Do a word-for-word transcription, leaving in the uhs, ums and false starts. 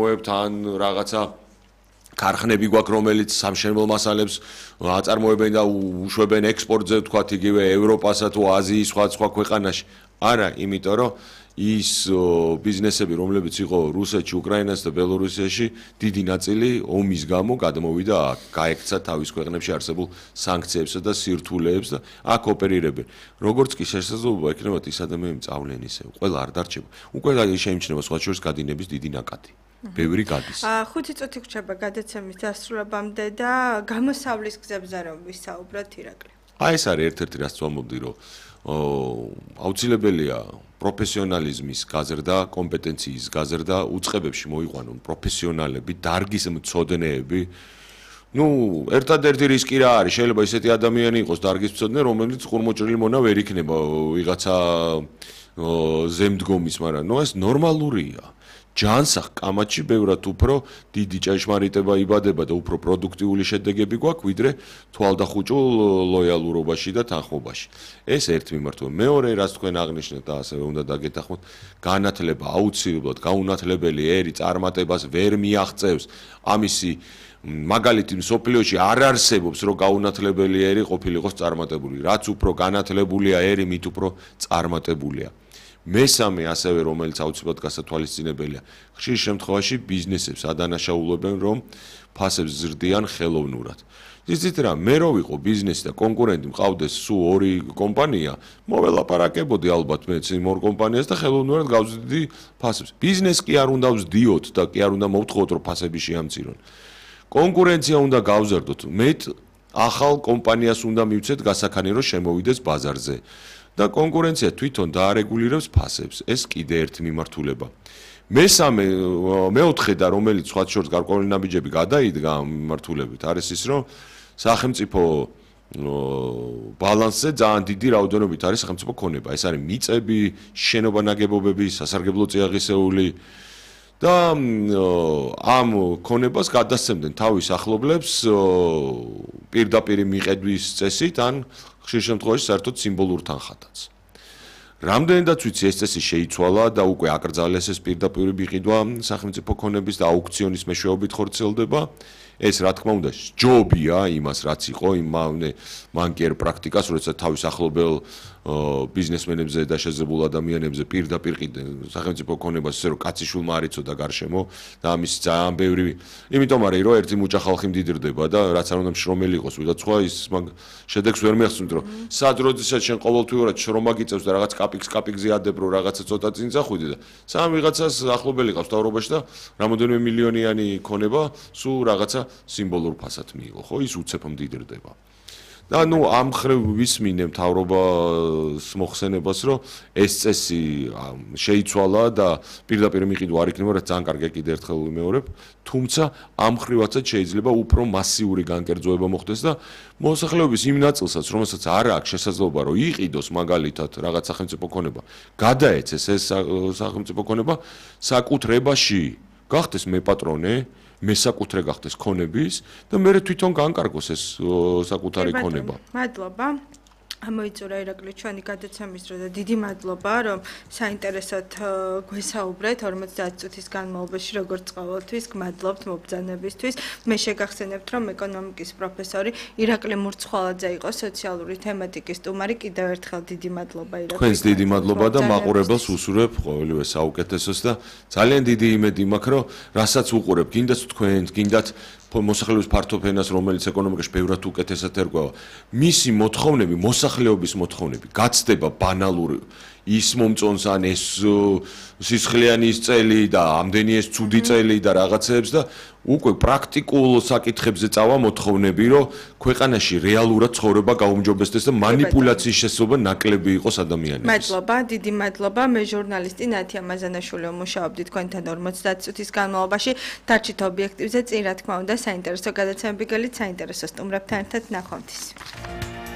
წარმოებთ ან რაღაცა ქარხნები გვაქვს, რომელიც სამშენებლო მასალებს აწარმოებენ და უშვებენ ექსპორტზე, თქვათ იგივე ევროპასა თუ აზიის სხვა სხვა ქვეყანაში. არა, იმიტომ რომ ის ბიზნესები, რომლებიც იყო რუსეთში, უკრაინასა და ბელორუსიაში, დიდი ნაწილი ომის გამო გადმოვიდა აქ, გაექცა თავის ქვეყნებში არსებულ სანქციებსა და სირთულეებს და აქ ოპერირებენ. როგორც კი შესაძლებლობა ექნებათ ის ადამიანები წავლენ ისევ, ყველა არ დარჩება. უკვე შეიმჩნევა სხვა შორის გადინების დიდი ნაკადი. ბევრი გადის. ხუთი წუთი გრჩება გადაცემის დასრულებამდე და გამოსავლის გზებზე რომ ვისაუბროთ ირაკლი. აი ეს არის ერთ-ერთი რაც ვამბობდი, რომ აუცილებელია პროფესიონალიზმის გაზრდა, კომპეტენციის გაზრდა, უწყებებში მოიყვანონ პროფესიონალები, დარგის მცოდნეები. ნუ ერთადერთი რისკი რა არის? შეიძლება ისეთი ადამიანი იყოს დარგის მცოდნე, რომელიც ყურმოჭრილი მონა ვერ იქნება ვიღაცა ზემდგომის, მაგრამ ნუ ეს ნორმალურია. ჯანსაღ კამათში ბევრად უფრო დიდი ჭეშმარიტება იბადება და უფრო პროდუქტიული შედეგები გვაქვს, ვიდრე თვალდახუჭულ ლოიალურობაში და თანხმობაში. ეს ერთ მიმართვა. მეორე, რაც თქვენ აღნიშნეთ და ასევე უნდა დაგეთანხმოთ, განათლება აუცილებლად გაუნათლებელი ერი წარმატებას ვერ მიაღწევს. ამისი მაგალითი მსოფლიოში არ არსებობს, რომ გაუნათლებელი ერი ყოფილიყოს წარმატებული. რაც უფრო განათლებულია ერი, მით უფრო წარმატებულია. მესამე ასევე რომელიც აუცილებლად გასათვალისწინებელია, ხშირ შემთხვევაში ბიზნესებს ადანაშაულებენ, რომ ფასებს ზრდიან ხელოვნურად. იცით რა, მე რო ვიყო ბიზნესი და კონკურენტი მყავდეს სულ ორი კომპანია, მოველაპარაკებოდი ალბათ მეც იმ ორ კომპანიას და ხელოვნურად გავზრდი ფასებს. ბიზნეს კი არ უნდა ვზდიოთ და კი არ უნდა მოვთხოვოთ, რომ ფასები შეამცირონ. კონკურენცია უნდა გავზარდოთ. მე ახალ კომპანიას უნდა მივცეთ გასაქანი, რომ შემოვიდეს ბაზარზე. და კონკურენცია თვითონ დაარეგულირებს ფასებს. ეს კიდე ერთი მიმართულება. მესამე, მეოთხე და რომელიც სხვა შორის გარკვეული ნაბიჯები გადაიდგა მიმართულებით, არის ის, რომ სახელმწიფო ბალანსზე ძალიან დიდი რაოდენობით არის სახელმწიფო ქონება. ეს არის მიწები, შენობა ნაგებობები, სასარგებლო წიაღისეული და ამ ქონებას გადასცემდნენ თავის ახლობლებს პირდაპირ მიყედვის წესით ან ხშირ შემთხვევაში საერთოდ სიმბოლურ თანხათაც. რამდენადაც ვიცი ეს წესი შეიცვალა და უკვე აკრძალეს ეს პირდაპირ მიყიდვა სახელმწიფო ქონების და აუქციონის მეშვეობით ხორციელდება. ეს რა თქმა უნდა ჯობია იმას რაც იყო იმ მანკიერ პრაქტიკას, როდესაც თავის ახლობელ ბიზნესმენებზე და შეძლებულ ადამიანებზე პირდაპირ ყიდნენ სახელმწიფო ქონებას, ისე რომ კაციშვილმა არ იცოდა გარშემო და ამის ძალიან ბევრი, იმიტომ არის რომ ერთი მუჭა ხალხი მდიდრდება და რაც არ უნდა შრომელი იყოს, ვიღაც სხვა ის შედეგს ვერ მიახსნით, რომ სად როდესაც შენ ყოველთვიურად შრომა გიწევს და რაღაც კაპიკს კაპიკზე ადებ, რომ რაღაცა ცოტა წინ წახვიდე და სამ ვიღაცას ახლობელი ყავს თავრობაში და რამოდენიმე მილიონიანი ქონება სულ რაღაცა სიმბოლურ ფასად მიიღო, ხო, ის უცებ მდიდრდება. და ნუ ამ ხრივ ვისმინე მთავრობას მოხსენებას, რომ ეს წესი შეიცვალა და პირდაპირ მიყიდვა არ იქნება, რაც ძალიან კარგია კიდე ერთხელ ვიმეორებ, თუმცა ამ ხრივაცაც შეიძლება უფრო მასიური განკერძოება მოხდეს და მოსახლეობის იმ ნაწილსაც, რომელსაც არ აქვს შესაძლებლობა, რომ იყიდოს მაგალითად რაღაც სახელმწიფო ქონება, გადაეცეს ეს სახელმწიფო ქონება საკუთრებაში, გახდეს მეპატრონე, მესაკუთრე გახდეს ქონების და მე თვითონ განკარგოს ეს საკუთარი ქონება. მადლობა. ამოიწურა ირაკლი ჩვენი გადაცემის დრო და დიდი მადლობა, რომ საინტერესოდ გვესაუბრეთ ორმოცდაათი წუთის განმავლობაში, როგორც ყოველთვის, გმადლობთ მობრძანებისთვის. მე შეგახსენებთ, რომ ეკონომიკის პროფესორი ირაკლი მურცხვალაძე იყო, სოციალური თემატიკის სტუმარი. კიდევ ერთხელ დიდი მადლობა ირაკლი. თქვენს დიდი მადლობა და მაყურებელს უსურვებ ყოველივე საუკეთესოს და ძალიან დიდი იმედი მაქვს, რომ რასაც უყურებ, გინდათ თქვენ, გინდათ მოსახლეობის ფართო ფენას, რომელიც ეკონომიკაში ბევრად უკეთესად ერკვევა, მისი მოთხოვნები, მოსახლეობის მოთხოვნები გაცდება ბანალური ის მომწონს ან ეს სისხლიანი ის წელი და ამდენი ეს ცუდი წელი და რაღაცეებს და უკვე პრაქტიკულ საკითხებზე წავა მოთხოვნები, რომ ქვეყანაში რეალურად ცხოვრება გაუმჯობესდეს და манипуляციის შესაძლებლობა ნაკლები იყოს ადამიანებს. მადლობა, დიდი მადლობა. მე ჟურნალისტი ნათია მაზანაშვილი ვმუშაობდი თქვენთან ორმოცდაათი წუთის განმავლობაში. დარჩით ობიექტივზე, წინ რა თქმა უნდა, საინტერესო გადაცემები გელით, საინტერესო სტუმრებთან ერთად ნახვამდის.